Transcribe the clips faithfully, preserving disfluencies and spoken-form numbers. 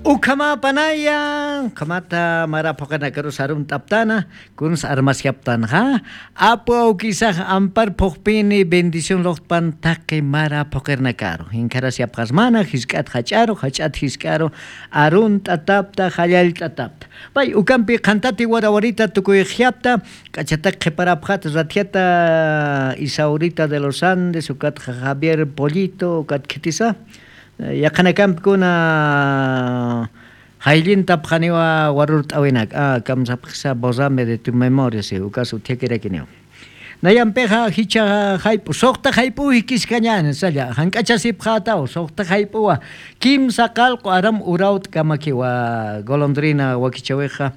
Ukama panaya, kamata marapokana karusarun taptana, kuns armasyaptanja, apu aukisaj ampar pokpini bendición lohtpan take marapokerna karo. Hinkarasyapqasmana, hisk'at hach'aro, hach'at hisk'aro, arun tatapta, hallal tatapta. Pay ukampi qantati warawarita tukuyqyapta, k'achata qhiparapqata ratiata Isaurita de los Andes, ukat Javier Pollito, ukat kitisa. Yaqanakampi hayllinta pqaniwa warurt'awinak ah kamsapqsa borrame de tu memoria si ukas uthiakirakinio. Nayampeja hicha haypu suqta haypu hikiskañan salla hank'achasipqataw suqta haypuwa kimsa qalqu aram urawt kamakiwa golondrina wakichawiqa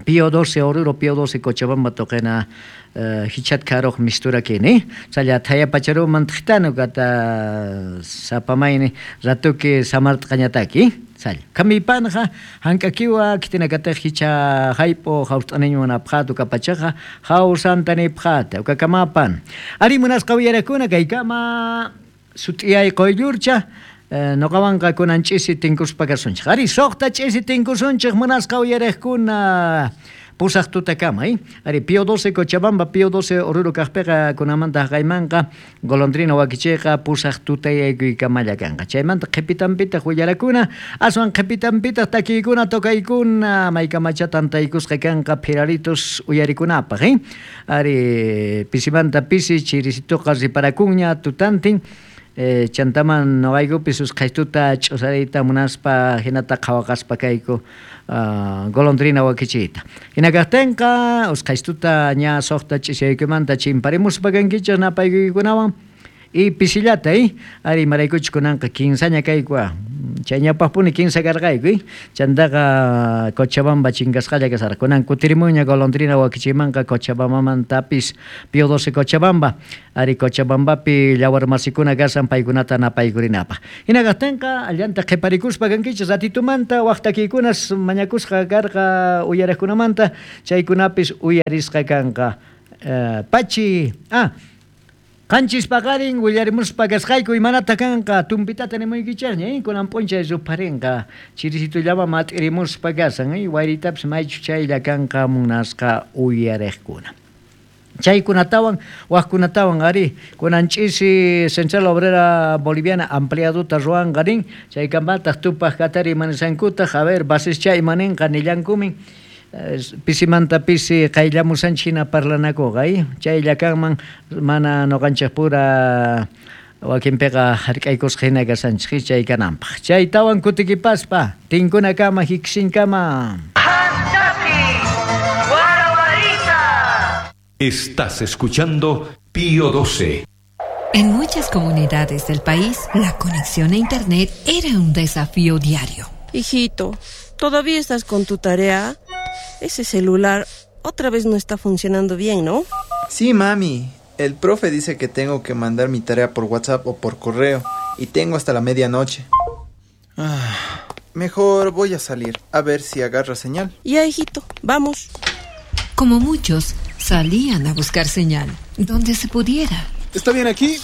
Pío doce Oruro, Pío doce Cochabamba toqena hichat karoq mistura kini salla thayapacharuman tqitanu kata sapamayni ratuki samartqañataki salla kamipanja hank'akiwa kitinakataq hicha haypo hawst'aniñwan apqatu kapachaqa hawsantanipqata ukakamapan ari munasqa uyarakuna kaykama sut'iyay quyllurcha noqawanqa kunan ch'isi tinkuspa kasunchik ari suqta ch'isi tinkusunchik munasqa uyariqkuna pusaq tutakama eh? Ari Pío doce Cochabamba, Pío doce Oruro kaqpiqa kunamanta haqaymanqa golondrina wakichiyqa pusaq tutayaykuykama kanqa chaymanta qhipitanpitaq willarakuna aswan qhipitanpitaq takiykuna tokaykuna maykamacha tantaykusqa kanqa phiraritos uyarikunapaq eh? Ari pisimanta pisi chirisituqa riparakunña tutantin Eh, chantaman noqaykupis usqhaytuta ch'usariyta munaspa hinata qhawaqaspa kayku uh, golondrina wakichiyta. Hina kaqtinqa usqhaytuta ña suqta ch'isiyaykumanta chimparimuspa kankichik napaykuykunawan y pisillata eh? Ari maraykuchik kunanqa kinsaña kayku chay ñawpaqpuni kinsa karqayku eh? Chantaqa Cochabamba chinkasqalla kasarqa kunan kutirimunña golondrina wakichiymanqa Cochabambamantapis Pío doce Cochabamba ari Cochabambapi llawarmasikuna kasan paykunata napaykurinapaq hina kaqtinqa allanta qhiparikuspa kankichik ratitumanta waqtakiykunas mañakusqa karqa uyariqkunamanta chaykunapis uyarisqa kanqa uh, pachi ah Qanchis paqarin willarimuspa kasqayku imanata kanqa tumpitata nimuykichikña eh? Kunan p'unchay rupharinqa chirisitullama mat'irimuspa kasan eh? Wayritapis maychu chaylla kanqa munasqa uyariqkuna. Chaykunatawan waqkunatawan ari kunan ch'isi Central Obrera Boliviana ampliaduta ruwanqa rin chaykamataq tupaq katari imanisankutaq a ver basischa imaninqa nillankumin pisimanta pisi qayllamusanchik hina parlanakuqa eh? Chaylla kanman mana noqanchikpura wakinpiqa hark'aykusqa hina kasanchik chay kananpaq chaytawan kutikipaspa tinkunakama hiksinkama. Estás escuchando Pío doce. En muchas comunidades del país, la conexión a internet era un desafío diario. Hijito, ¿todavía estás con tu tarea? Ese celular otra vez no está funcionando bien, ¿no? Sí, mami. El profe dice que tengo que mandar mi tarea por WhatsApp o por correo y tengo hasta la medianoche. Ah, mejor voy a salir a ver si agarra señal. Ya, hijito, vamos. Como muchos, salían a buscar señal donde se pudiera. ¿Está bien aquí?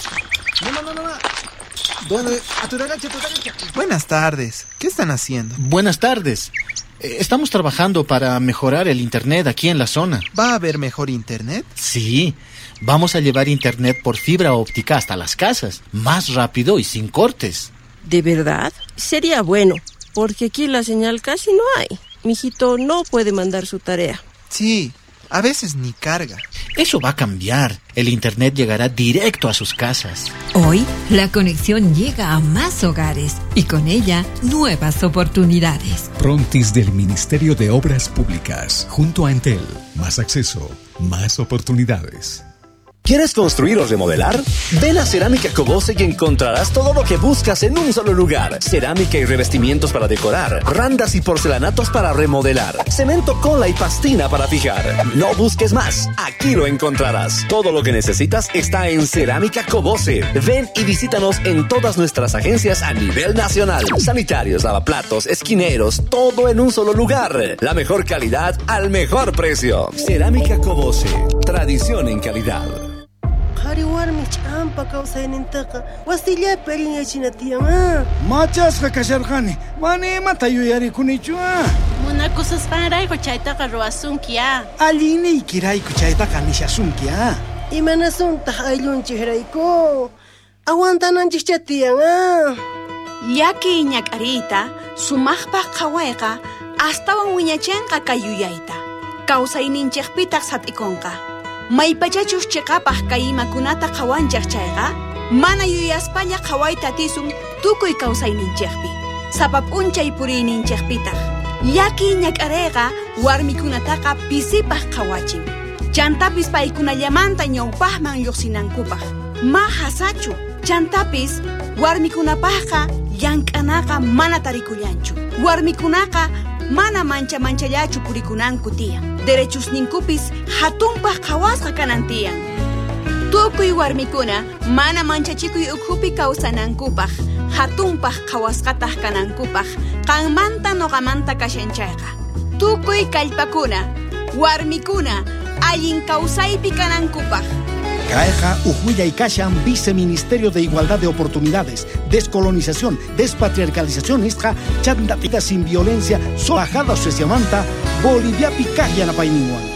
No, no, no, no. ¿Dónde? A tu derecha, a tu derecha. Buenas tardes. ¿Qué están haciendo? Buenas tardes. Estamos trabajando para mejorar el internet aquí en la zona. ¿Va a haber mejor internet? Sí. Vamos a llevar internet por fibra óptica hasta las casas. Más rápido y sin cortes. ¿De verdad? Sería bueno, porque aquí la señal casi no hay. Mijito no puede mandar su tarea. Sí, a veces ni carga. Eso va a cambiar. El internet llegará directo a sus casas. Hoy, la conexión llega a más hogares y con ella, nuevas oportunidades. Prontis del Ministerio de Obras Públicas, junto a Entel. Más acceso, más oportunidades. ¿Quieres construir o remodelar? Ven a Cerámica Cobose y encontrarás todo lo que buscas en un solo lugar. Cerámica y revestimientos para decorar, randas y porcelanatos para remodelar, cemento, cola y pastina para fijar. No busques más, aquí lo encontrarás. Todo lo que necesitas está en Cerámica Cobose. Ven y visítanos en todas nuestras agencias a nivel nacional. Sanitarios, lavaplatos, esquineros, todo en un solo lugar. La mejor calidad al mejor precio. Cerámica Cobose, tradición en calidad. Qhari warmi ch'ampa kawsaynintaqa wasillapi allinyachina tiyan ah. Machasqa kasharqani, mana imata yuyarikunichu ah. Munakususqanrayku chaytaqa ruwasunki ah. Allinniykirayku chaytaqa nishasunki ah. Imanasuntaq ayllunchikrayku? Aguantananchikcha tiyan ah. Llakiy ñak'ariyta sumaqpaq qhawayqa astawan wiñachinqa kay yuyayta. Kawsayninchikpitaq sat'ikunqa. Maypachachus chiqapaq kay imakunata qhawanchik chayqa, mana yuyaspalla qhawayta atisun tukuy kawsayninchikpi. Sapa p'unchay puriyninchikpitaq. Llakiy ñak'ariyqa warmikunataqa pisipaq qhawachin. Chantapis paykunallamanta ñawpaqman lluqsinankupaq. Ma hasachu. Chantapis warmikunapaqqa llank'anaqa mana tarikullanchu. Warmikunaqa mana mancha manchallachu purikunanku tiyan. Derechusninkupis hatunpaq qhawasqa kanan tiyan. Tukuy warmikuna mana manchachikuy ukhupi kawsanankupaq, hatunpaq qhawasqataq kanankupaq, qanmanta noqamanta kashan chayqa. Tukuy kallpakuna, warmikuna allin kawsaypi kanankupaq. Kayqa uj kashan Viceministerio de Igualdad de Oportunidades, Descolonización, Despatriarcalización nisqa chantapita sin violencia, bajada sueciamanta, Bolivia pikaj yanapayninwan.